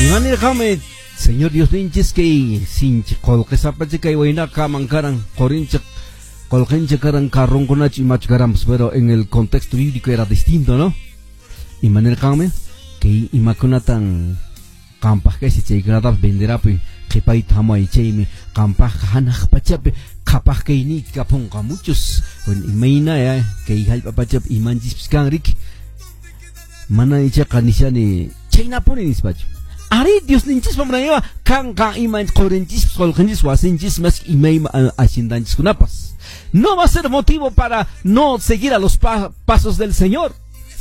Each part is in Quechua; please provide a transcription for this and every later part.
Imanirqanmi Señor Diosninchis kay sinchi qolqesapacha kay waynaqa mankaran qorinchik qolqencha karan carronkunachu imachu karanpas, pero en el contexto bíblico era distinto, ¿no? Imanirqanmi kay imakunatan qampaq kaysi chaykunatapas venderapuy qhipayta hamuay chaymi qampaqqa hanaq pachapi qhapaq kayniyki kapunqa. Muchos, bueno, imayna ya kay hallp'a pachapi imanchispis kan riki, mana ichaqa nishani chaynapuni nispachu. Ari Diosninchispa munayninqa kanqa ima qorinchispas qolqinchis wasinchis mas imayma haciendanchiskunapas. No va a ser motivo para no seguir a los pasos del Señor.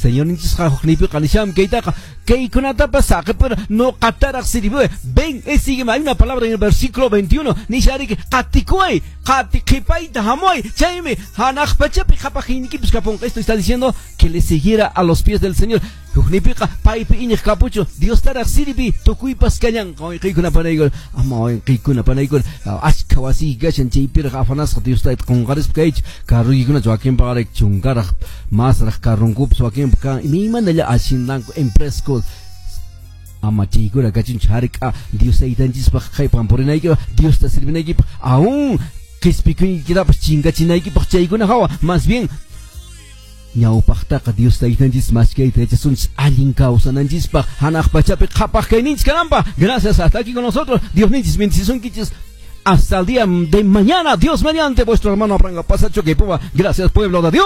Señorninchisqa hukniypiqa nisham kaytaqa kaykunatapas saqipura noqataraq sirviway. Ven y sígueme. Hay una palabra en el versículo 21. Nishariki qatikuway, qati qhipayta hamuay. Chaymi hanaq pachapi qhapaqniykipis kapunqa. Esto está diciendo que le siguiera a los pies del Señor. Hukniypiqa paypi iñiq kapuchu Diostaraq sirvi tukuypas kallanqa. Wayqiykuna panaykuna, ama wayqiykuna panaykuna, achka wasiyki kashan chaypiraq afanasqa Diosta qunqarispa kaychu. Carroykikunachu wakinpaqarayku chunkaraq masraq carronkupas wakinpa kan imaymanalla haciendanku empresku ama chaykuna kachunchu hark'a Dios taytanchispaq qhaypan purinaykipaq Diosta sirvinaykipaq aún qispikuykitapas chinkachinaykipaq chaykuna hawa más bien ñawpaqtaqa Dios taytanchis maskayta yachasunchis allin kawsananchispaq hanaq pachapi qhapaq kayninchis kananpaq. Gracias, hasta aquí con nosotros. Diosninchis bendicisunkichis hasta el día de mañana. Dios mediante, vuestro hermano Abraham Pasacho que Gracias, pueblo de Dios.